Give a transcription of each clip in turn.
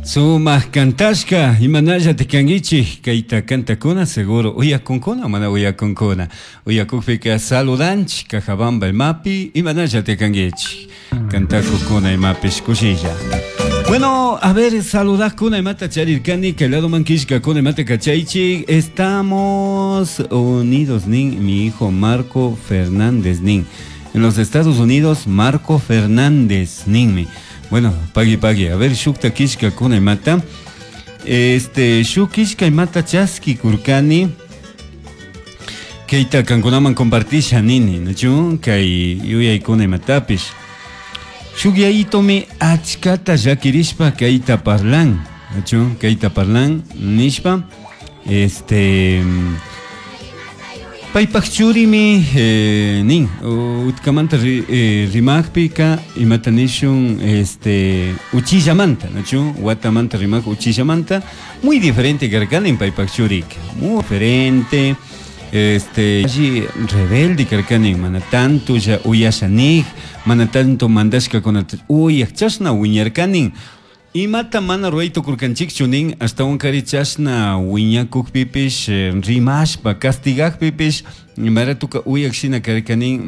Sumak kantashka imanalla kankichik kayta kantakuna seguro uyakunkuna mana uyakunkuna uyakukpika saludanchik Cajabamba imapi imanalla kankichik kantakukuna imapish kushilla. Bueno, a ver, saludakuna imata charirkani kay ladoman killkakuna imata kachaychik. Estamos unidos nin mi hijo Marco Fernández nin. En los Estados Unidos, Marco Fernández ninmi. Bueno, pagui pagui. A ver, shukta killkakuna imata. Este, shuk killka imata chaski kurkani. Kayta kankunaman compartisha nini, nachu? Kay yuyaykuna imatapish. Shuk yayitomi achkata llakirishpa kayta parlan, nachu? Kayta parlan nishpa, este, paypak churimi nin, utkamanta rimakpika imata nishun, este, uchillamanta, nachu? Watamanta rimak uchillamanta, muy diferente karkanin paypak churika, muy diferente. Este, alli rebelde karkanin, mana tanto ya uyashanik, mana tanto mandashka kunata uyak chashna wiñarkanin. Imata mana ruray tukurkanchikchu nin, ashtawankari chashna wiñakukpipish, rimashpa, castigakpipish, maratuka uyak shina karkanin,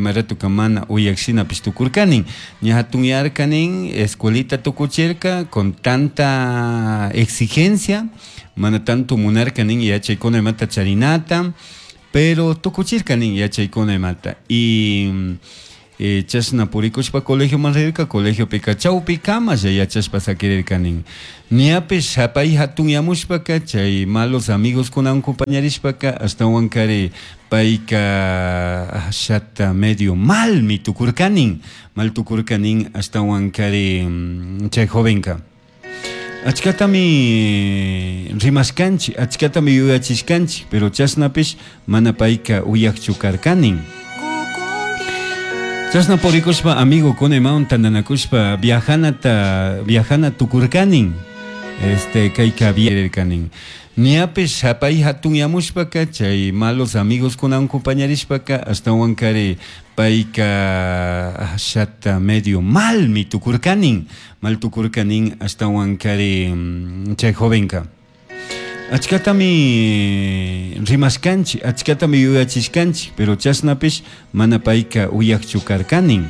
maratuka mana uyak shinapish tukurkanin. Ña hatunyarkanin, escuelita tukuchirka, con tanta exigencia, mana tanto munarkanin yachaykuna imata charinata, pero tukuchirkanin yachaykuna imata. Y chashna purikushpa colegioman rirka, colegiopika chawpikama ya yachashpa sakirirkanin. Ñapish pay hatunyamushpaka chay malos amigos kunawan compañarishpaka ashtawankari payka ashata medio malmi tukurkanin, mal tukurkanin ashtawankari chay jovenka. Achkatami rimashkanchik, achkatami yuyachishkanchik, pero chashnapish mana payka uyakchu karkanin. Chashna purikushpa amigo kuna imawan tantanakushpa viajanata, viajana tukurkanin, este, kayka viajarkanin. Ñapish pay hatunyamushpaka chay malos amigos kunawan compañarishpaka ashtawankari payka ashata medio malmi tukurkanin, mal tukurkanin ashtawankari chay jovenka. Achkatami rimashkanchik, achkatami yuyachishkanchik, pero chashnapish mana payka uyakchu karkanin.